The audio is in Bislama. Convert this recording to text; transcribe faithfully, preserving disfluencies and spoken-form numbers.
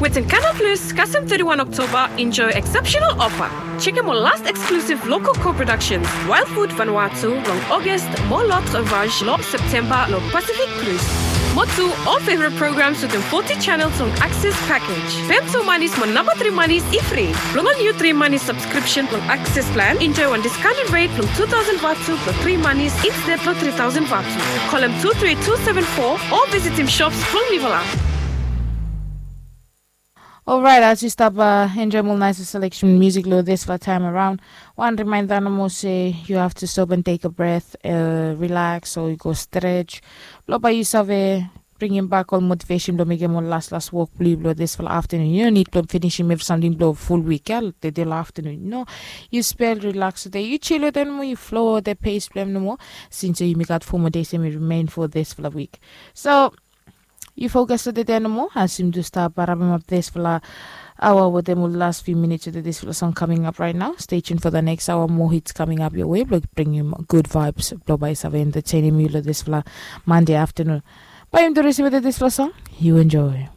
Wetin Canal Plus kasem thirty-one October, enjoy exceptional offer. Check out more last exclusive local co-productions, Wild Food Vanuatu long August, more Lot Ravage long September long Pacific Cruise. More two all favorite programs within forty channels long Access Package. Pem two monies mo number three monies ifri. Long all new three money subscription long Access Plan, enjoy one discounted rate long two thousand vatu long three monies instead long three thousand vatu. Call him two three two seven four or visit him shops long Nivala. Alright, as yu stap uh, enjoy more nice selection music lo this for time around. One reminder no more say you have to stop and take a breath, uh, relax or you go stretch. Lo by you save bringing back all motivation blo mekem ol las las wok blo yu blo this for afternoon. You no need blo finishing every something blo full week ya, the day afternoon. No, you spell relax today. You chill with them, you flow with the pace blo them no more. Since you make out four more days and we remain for this for the week. So you focus to the day no more as you do start barabbing up this for awa with them will last few minutes of this for song coming up right now. Stay tuned for the next hour. More hits coming up your way. Blo bring you good vibes. Blo by save entertaining you this for Monday afternoon. By him to receive this for song. You enjoy.